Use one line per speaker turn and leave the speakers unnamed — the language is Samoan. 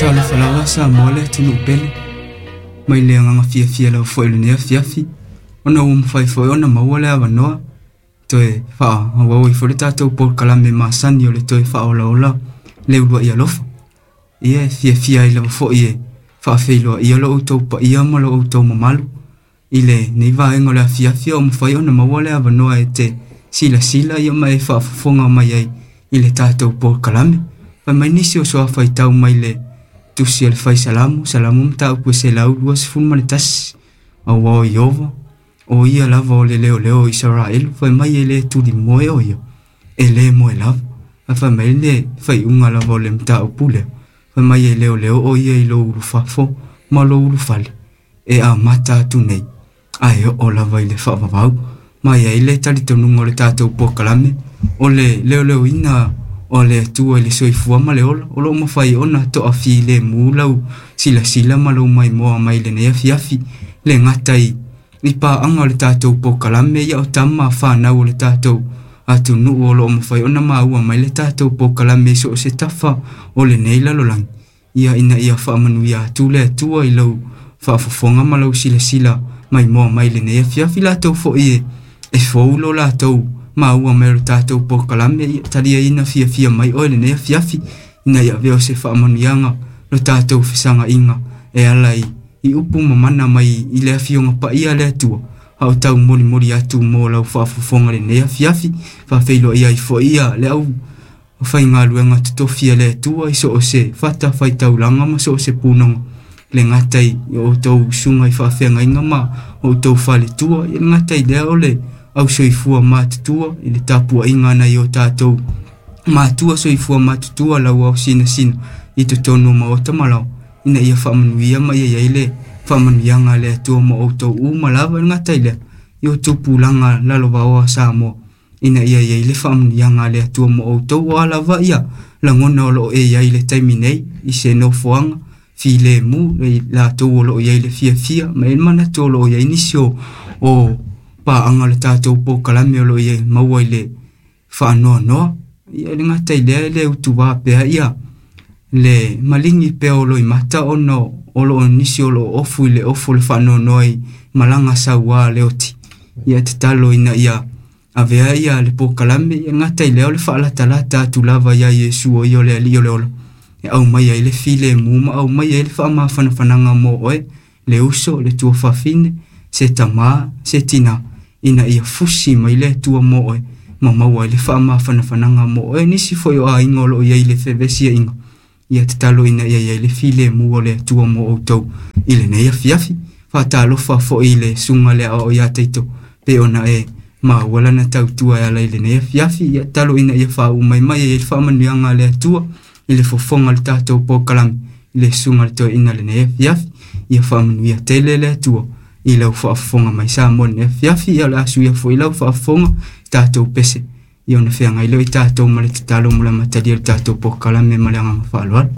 Talofa lava Samoa le atunuu pele mai le agaga fiafia lava foi i lenei afiafi ona ua mafai foi ona maua le avanoa toe faaauau ai foi le tatou polokalame masani o le toe faaolaola le uluai alofa. Ia e fiafia ai lava foi e faafeiloaia lo outou paia ma lo outou mamalu i lenei vaega o le afiafi o mafai ona maua le avanoa e te silasila ia ma e faafofoga mai ai i le tatou polokalame. Fai mai nisi o soafaitau mai le tusi a le fai Salamo, Salamo mataupu e 121, aua o Ieova, o ia lava o le leoleo o Isaraelu, fai mai e le tulimoe o ia, e le moe lava. Ae fai mai le faiuga lava o le mataupu lea, fai mai e leoleo o ia i lou ulufafo ma lou ulufale, e amata atu nei, ae oo lava i le faavavau. Ma e ai le talitonuga o le tatou polokalame, o le leoleoina o le Atua i le soifua ma le ola, o loo mafai ona toafilemu lau silasila ma lou maimoa mai lenei afiafi, le gata i paaga o le tatou polokalame, ia o tama fanau o le tatou atunuu o loo mafai ona maua mai le tatou polokalame i so o se tafa o lenei lalolagi. Ia ina ia faamanuia atu le Atua i lau faafofoga ma lau silasila maimoa mai lenei afiafi. Latou foi e fou lo latou maua mai o le tatou polokalame, ia taliaina fiafia mai oe lenei afiafi, ina ia avea o se faamanuiaga lo tatou fesagaiga e ala i upu mamana mai i le afioga paia le Atua, a o tau molimoli atu mo lau faafofoga lenei afiafi. Faafeiloai ai foi ia le au faigaluega totofi a le Atua i so o se fata faitaulaga ma so o se punoga, le gata i outou susuga i faafeagaiga ma outou faletua, ia le gata i lea o le au soifua matutua i le tapuaiga nai o tatou matua soifua matutua lau au sinasina i totonu o maota ma lao, ina ia faamanuia ma ia iai le faamanuiaga a le Atua ma outou uma lava. Le gata i lea i o tupulaga lalovaoa Samoa, ina ia iai le faamanuiaga a le Atua ma outou. O a lava ia lagona o loo e iai le taimi nei i se nofoaga filemu le latou o loo iai le fiafia ma e manatu o loo iai nisi o paaga o le tatou polokalame o loo iai maua i le faanoanoa. Ia le gata i lea e le utuvā pea ia le maligi pea o loimata ona o loo nisi o loo ofu i le ofu o le faanoanoa i malaga sauā le oti. Ia tatalo ina ia avea ia le polokalame, ia le gata i lea o le faalatalata atu lava ia Iesu o ia o le Alii o le ola, e aumai ai le filemu ma aumai ai le faamafanafanaga mo oe, le uso, le tuafafine, se tamā, se tinā, ina ia fusi mai le Atua mo oe ma maua ai le faamafanafanaga mo oe. Nisi foi o aiga o loo iai le fevesiaiga, ia tatalo ina ia iai le filemu o le Atua mo outou i lenei afiafi. Faatalofa foi i le susuga le aoao ia Taito pe ona e maua lana tautua e ala i lenei afiafi. Ia tatalo ina ia faauu mai mai ai le faamanuiaga a le Atua i le fofoga o le tatou polokalame i le susuga le toeaina lenei afiafi. Ia faamanuia tele le Atua i lau faafofoga mai Samoa lenei afiafi. Ia o le a suia foi lau faafofoga tatou pese, ia ona feagai lea i tatou ma le tatalo mo le amatalia o le tatou polokalame ma le agaga faaaloalo.